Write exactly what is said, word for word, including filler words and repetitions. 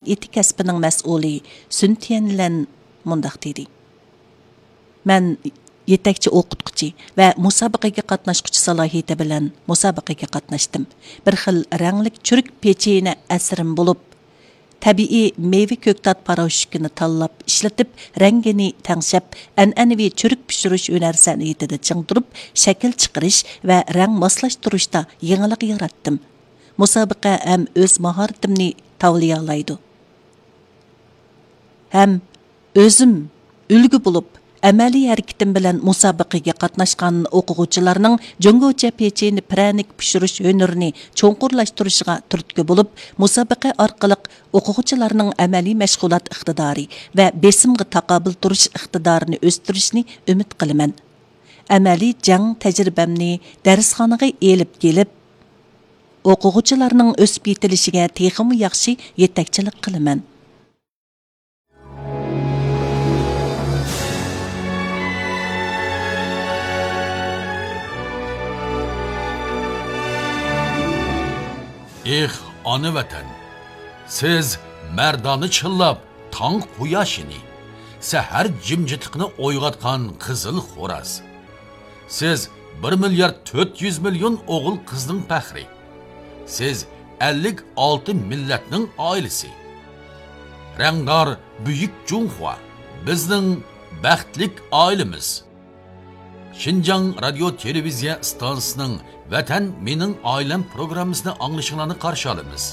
ئېتىك كەسپىنىڭ مەسئۇلى سۈن تيەنلەن مۇنداق دېدى: مەن يېتەكچى ئوقۇتقۇچى ۋە مۇسابىقىگە قاتناشقۇچى سالاھىيىتى بىلەن مۇسابىقىگە قاتناشتىم. بىر خىل رەڭلىك چۈرۈك پېچىنە ئەسىرىم بولۇپ، تەبىئىي مېۋە كۆكتات پاراشوكىنى تاللاپ ئىشلىتىپ، رەڭگىنى تەڭشەپ، ئەنئەنىۋى چۈرۈك پىشۇرۇش ھۈنەر سەنئىتىدە چىڭ تۇرۇپ، شەكىل چىقىرىش ۋە رەڭ ماسلاشتۇرۇشتا يېڭىلىق ياراتتىم. مۇسابىقە ھەم ئۆز ماھارىتىمنى تاۋلىيالايدۇ. ھەم ئۆزۈم ئۈلگە بولۇپ، ئەمەلىي ھەرىكىتىم بىلەن مۇسابىقىگە قاتناشقان ئوقۇغۇچىلارنىڭ جۇڭگوچە پېچىنە پىرەنىك پىشۇرۇش ھۈنىرىنى چوڭقۇرلاشتۇرۇشىغا تۈرتكە بولۇپ، مۇسابىقە ئارقىلىق ئوقۇغۇچىلارنىڭ ئەمەلىي مەشغۇلات ئىقتىدارى ۋە بېسىمغا تاقابىل تۇرۇش ئىقتىدارىنى ئۆستۈرۈشنى ئۈمىد قىلىمەن. ئەمەلىي جەڭ تەجرىبەمنى دەرسخانىغا ئېلىپ كېلىپ، ئوقۇغۇچىلارنىڭ ئۆسۈپ يېتىلىشىگە تېخىمۇ ياخشى يېتەكچىلىك قىلىمەن. ئېھ، ئانا ۋەتەن! سىز مەردانە چىللاپ تاڭ قۇياشىنى، سەھەر جىمجىتلىقىنى ئويغاتقان قىزىل خوراز. سىز بىر مىليارد تۆت يۈز مىليون ئوغۇل قىزنىڭ پەخرى. سىز ئەللىك ئالتە مىللەتنىڭ ئائىلىسى. رەڭدار بۈيۈك جۇڭخۇا، بىزنىڭ بەختلىك ئائىلىمىز. شىنجاڭ رادىيو تېلېۋىزىيە ئىستانسىسىنىڭ ۋەتەن مېنىڭ ئائىلەم پروگراممىسىنى ئاڭلىشىڭلارنى قارشى ئالىمىز.